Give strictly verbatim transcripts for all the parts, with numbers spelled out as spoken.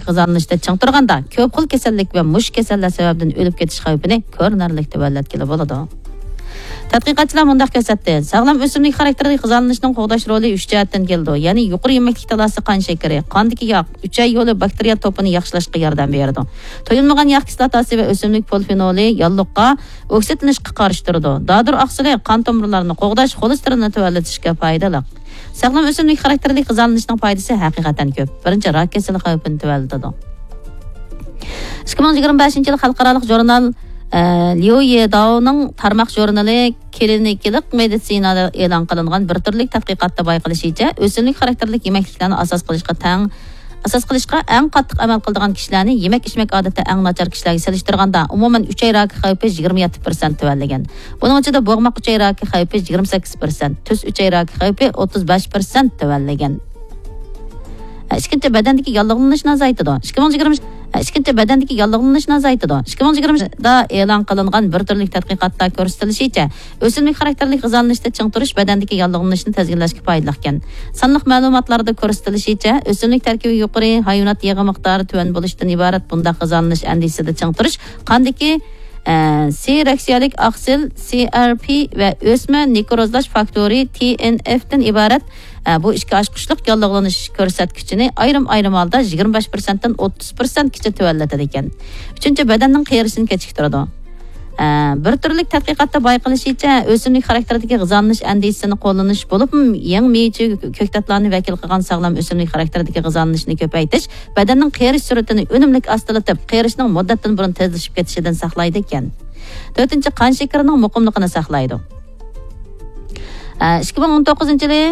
غىزالىنىشتا چىڭ تۇرغاندا، كۆپ خىل كېسەللىك ۋە مۇشۇ كېسەللەر سەۋەبىدىن ئۆلۈپ كېتىش خەۋپىنى كۆرۈنەرلىك تۆۋەنلەتكىلى بولىدۇ. تەتقىقاتچىلار مۇنداق كۆرسەتتى: ساغلام ئۆسۈملۈك خاراكتېرلىك غىزالىنىشنىڭ قوغداش رولى ئۈچ جەھەتتىن كېلىدۇ، يەنى يۇقىرى يېمەكلىكتە تالاسى قان شېكىرى، قاندىكى ياغ، ئۈچەي يولى باكتېرىيە توپىنى ياخشىلاشقا ياردەم بېرىدۇ. تويۇلمىغان ياغ كىسلاتاسى ۋە ئۆسۈملۈك پولفېنولى ياللۇغقا، ئوكسىدلىنىشقا قارشى تۇرىدۇ. دادۇر ئاقسىلى قان تومۇرلارنى قوغداش، خولېستېرىننى تۆۋەنلىتىشكە پايدىلىق. ساغلام ئۆسۈملۈك خاراكتېرلىك غىزالىنىشنىڭ پايدىسى ھەقىقەتەن كۆپ. بىرىنچى، راك كېسىلى خەۋپىنى تۆۋەنلىتىدۇ. ئىككى مىڭ يىگىرمە بەشىنچى يىل خەلقئارالىق ژۇرنال، ئە، ليۇ يېداۋنىڭ تارماق ژۇرنىلى كلىنىكىلىق مېدىتسىنادا ئېلان قىلىنغان بىر تۈرلۈك تەتقىقاتتا بايقىلىشىچە، ئۆسۈملۈك خاراكتېرلىك يېمەكلىكلەرنى ئاساس قىلىشقا تەڭ، ئاساس قىلىشقا ئەڭ قاتتىق ئەمەل قىلىدىغان كىشىلەرنى يېمەك-ئىچمەك ئادىتى ئەڭ ناچار كىشىلەرگە سېلىشتۇرغاندا، ئومۇمەن ئۈچەي راكى خەۋپى يىگىرمە يەتتە پىرسەنت تۆۋەنلىگەن. بۇنىڭ ئىچىدە بوغماق ئۈچەي راكى خەۋپى يىگىرمە سەككىز پىرسەنت، تۈز ئۈچەي راكى خەۋپى ئوتتۇز بەش پىرسەنت تۆۋەنلىگەن. ئىككىنچى، بەدەندىكى ياللۇغلىنىشنى ئازايتىدۇ. ئىككى مىڭ يىگىرمە، ئىككىنچى، بەدەندىكى ياللۇغلىنىشنى ئازايتىدۇ. ئىككى مىڭ يىگىرمىدا ئېلان قىلىنغان بىر تۈرلۈك تەتقىقاتتا كۆرسىتىلىشىچە، ئۆسۈملۈك خاراكتېرلىك غىزالىنىشتا چىڭ تۇرۇش بەدەندىكى ياللۇغلىنىشنى تىزگىنلەشكە پايدىلىقكەن. سانلىق مەلۇماتلاردا كۆرسىتىلىشىچە، ئۆسۈملۈك تەركىبى يۇقىرى، ھايۋانات يېغى مىقدارى تۆۋەن بولۇشتىن ئىبارەت بۇنداق غىزالىنىش ئەندىزىسىدە چىڭ تۇرۇش قاندىكى، ئە، سېرېكسىيەلىك ئاقسىل، سى ئار پى، ۋە ئۆسمە نېكروزلاش فاكتورى، تى ئېن ئېف تىن ئىبارەت، ئە، بۇ ئىككى ئاچقۇچلۇق ياللۇغلىنىش كۆرسەتكۈچىنى ئايرىم-ئايرىم ھالدا يىگىرمە بەش پىرسەنتتىن ئوتتۇز پىرسەنتكىچە تۆۋەنلىتىدىكەن. ئۈچىنچى، بەدەننىڭ قېرىشىنى كېچىكتۈرىدۇ. ئە، بىر تۈرلۈك تەتقىقاتتا بايقىلىشىچە، ئۆسۈملۈك خاراكتېرىدىكى غىزالىنىش ئەندىزىسىنى قوللىنىش بولۇپمۇ يېڭى مېۋىچە كۆكتاتلارنى ۋەكىل قىلغان ساغلام ئۆسۈملۈك خاراكتېرىدىكى غىزالىنىشنى كۆپەيتىش بەدەننىڭ قېرىش سۈرئىتىنى ئۈنۈملۈك ئاستىلىتىپ، قېرىشنىڭ مۇددەتتىن بۇرۇن تېزلىشىپ كېتىشىدىن ساقلايدىكەن. تۆتىنچى، قان شېكىرىنىڭ مۇقىملىقىنى ساقلايدۇ. ئىككى مىڭ ئون توققۇزىنچى يىلى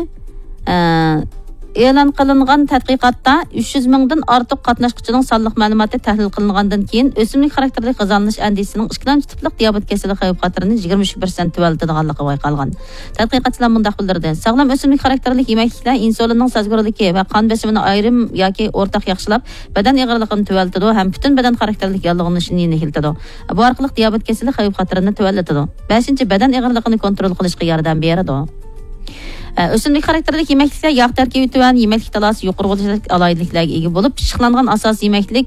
ئېلان قىلىنغان تەتقىقاتتا ئۈچ يۈز مىڭدىن ئارتۇق قاتناشقۇچىنىڭ سانلىق مەلۇماتى تەھلىل قىلىنغاندىن كېيىن، ئۆسۈملۈك خاراكتېرلىك غىزالىنىش ئەندىزىسىنىڭ ئىككىنچى تىپلىق دىيابېت كېسىلى خەۋپ خەتىرىنى يىگىرمە ئۈچ پىرسەنت تۆۋەنلىتىدىغانلىقى بايقالغان. تەتقىقاتچىلار مۇنداق بىلدۈردى: ساغلام ئۆسۈملۈك خاراكتېرلىك يېمەكلىكلەر ئىنسۇلىننىڭ سەزگۈرلۈكى ۋە قان بېسىمىنى ئايرىم ياكى ئورتاق ياخشىلاپ، بەدەن ئېغىرلىقىنى تۆۋەنلىتىدۇ ھەم پۈتۈن بەدەن خاراكتېرلىك ياللۇغلىنىشنى يېنىكلىتىدۇ. بۇ ئارقىلىق دىيابېت كېسىلى خەۋپ خەتىرىنى تۆۋەنلىتىدۇ. بەشىنچى، بەدەن ئېغىرلىقىنى كونترول قىلىشقا ياردەم بېرىدۇ. ئە، ئۆسۈملۈك خاراكتېرلىك يېمەكلىكلەر ياغ تەركىبى تۆۋەن، يېمەكلىك تالاسى يۇقىرى بولۇشلۇق ئالاھىدىلىكلەرگە ئىگە بولۇپ، پىششىقلانغان ئاساسىي يېمەكلىك